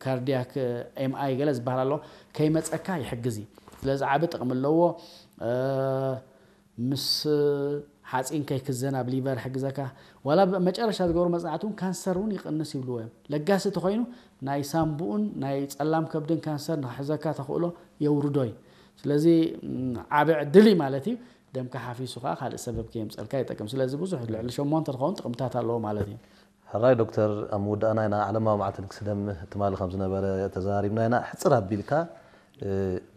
ካርዲያክ ኤምኣይ ገለ ዝበሃል ኣሎ፣ ከይመፀካ ይሕግዝ እዩ። ስለዚ ዓቢ ጥቕሚ ኣለዎ። ምስ ሓፂን ከይክዘን ኣብ ሊቨር ይሕግዘካ። ዋላ መጨረሻ ዝገብሩ መፅናዕቲ እውን ካንሰር እውን ይቕንስ ይብልዎ እዮም። ለጋሲ ተኮይኑ ናይ ሳምቡኡን ናይ ፀላም ከብድን ካንሰር ንክሕዘካ ተኽእሎ የውርዶ እዩ። ስለዚ ዓቢ ዕድል እዩ ማለት እዩ። ደምካ ሓፊሱ ከዓ ካልእ ሰበብ ከየምፀልካ ይጠቅም። ስለዚ ብዙሕ ልዕሊ ሸሞንተ ዝኸውን ጥቕምታት ኣለዎ ማለት እዩ። ሕራይ ዶክተር፣ ኣብ ምውዳእና ኢና። ዓለማዊ መዓልቲ ልግሲ ደም ትማሊ ከም ዝነበረ ተዘራሪብና ኢና። ሕፅር ኣቢልካ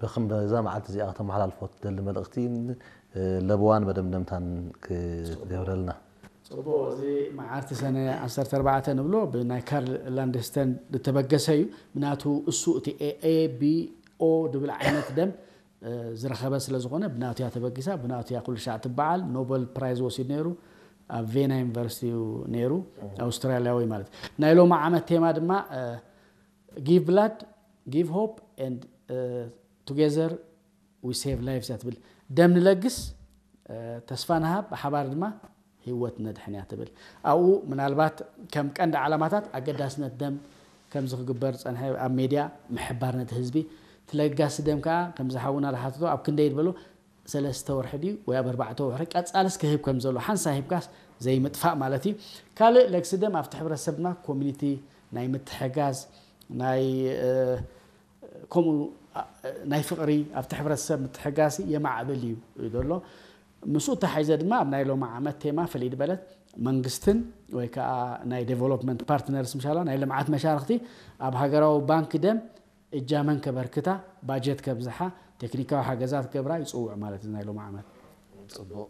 ብክም በዛ መዓልቲ እዚኣ ከተመሓላልፎ ትደሊ መልእኽቲ ለብዋን መደምደምታን ክትገብረልና። ፅቡቅ። እዚ መዓልቲ ሰነ ዓሰርተ ኣርባዕተ ንብሎ ብናይ ካርል ላንደስተን ዝተበገሰ እዩ። ምናቱ እሱ እቲ ኤ ቢ ኦ ድብል ዓይነት ደም ዝረኸበ ስለ ዝኾነ ብናቱ እያ ተበጊሳ፣ ብናቱ እያ ኩሉ ሻዕ ትበዓል። ኖበል ፕራይዝ ወሲዱ ነይሩ፣ ኣብ ቬና ዩኒቨርሲቲ እዩ ነይሩ፣ ኣውስትራልያዊ ማለት። ናይ ሎሚ ዓመት ቴማ ድማ give blood, give hope and together we save lives እያ ትብል። ደም ንለግስ፣ ተስፋ ንሃብ፣ ብሓባር ድማ ህይወት ነድሕን እያ ትብል። ኣብኡ ምናልባት ከም ቀንዲ ዓላማታት ኣገዳስነት ደም ከምዚ ክግበር ዝፀንሐ ኣብ ሜድያ ምሕባር ነቲ ህዝቢ፣ እቲ ለጋሲ ደም ከዓ ከምዚ ሓውና ዝሓተቶ ኣብ ክንደይ ዝበሎ ሰለስተ ወርሒ ድዩ ወይ ኣብ ኣርባዕተ ወርሒ ቀፃልስ ክህብ ከም ዘሎ ሓንሳ ሂብካስ ዘይምጥፋእ ማለት እዩ። ካልእ ለግሲ ደም ኣብቲ ሕብረተሰብ ድማ ኮሚኒቲ ናይ ምትሕጋዝ ናይ ከምኡ ናይ ፍቕሪ ኣብቲ ሕብረተሰብ ምትሕጋዝ የማዕብል እዩ ዘሎ። ምስኡ ተሓይዘ ድማ ኣብ ናይ ሎሚ ዓመት ቴማ ፍልይ ዝበለት መንግስትን ወይ ከዓ ናይ ዴቨሎፕመንት ፓርትነርስ ምሻላ ናይ ልምዓት መሻርክቲ ኣብ ሃገራዊ ባንክ ደም እጃመን ከበርክታ ባጀት ከብዝሓ ቴክኒካዊ ሓገዛት ክገብራ ይፅውዕ ማለት እዩ ናይ ሎሚ ዓመት። ፅቡቕ።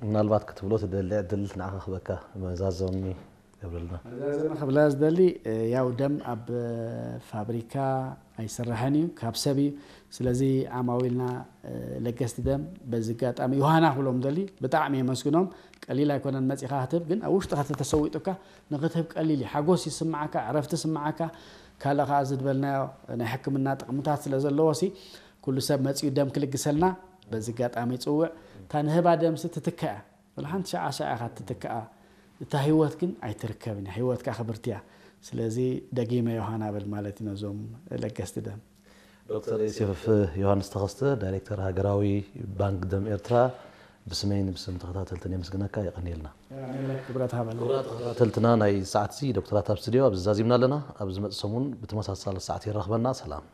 ምናልባት ክትብሎ ትደሊ ዕድል ንዓኻ ክበካ መዛዘሚ ገብረልና። መዛዘሚ ክብላ ዝደሊ ያው ደም ኣብ ፋብሪካ ኣይስራሕን እዩ ካብ ሰብ እዩ። ስለዚ ዓማዊልና ለገስቲ ደም በዚ ኣጋጣሚ ዮሃና ክብሎም ደሊ ብጣዕሚ የመስግኖም። ቀሊል ኣይኮነን መፂኻ ክትህብ ግን ኣብ ውሽጥኻ ተተሰዊጡካ ንክትህብ ቀሊል እዩ። ሓጎስ ይስምዓካ፣ ዕረፍቲ ይስምዓካ። ካልእ ከዓ እዚ ዝበልናዮ ናይ ሕክምና ጥቕምታት ስለ ዘለዎ ሲ ኩሉ ሰብ መፂኡ ደም ክልግሰልና በዚ ኣጋጣሚ ይፅውዕ። እታ ንህባ ደምሲ ትትከ እያ። ወላ ሓንቲ ሸዓ ሸዓ ኢኻ ትትከኣ። እታ ህይወት ግን ኣይትርከብን እያ። ህይወት ከዓ ክብርቲ እያ። ስለዚ ደጊመ ዮሃና በል ማለት እዩ ነዞም ለገስቲ ደም። ዶክተር ዮሴፍ ዮሃንስ ተኸስተ ዳይሬክተር ሃገራዊ ባንክ ደም ኤርትራ ብስመይን ብስም ተኸታተልትን የመስግነካ። የቐንየልና። ክብረት ሃበልና። ክቡራት ተኸታተልትና ናይ ሰዓትዚ ዶክተራት ኣብ ስቱዲዮ ኣብዚ ዛዚምና ኣለና። ኣብ ዝመጽእ ሰሙን ብተመሳሳሊ ሰዓት የራኽበና። ሰላም።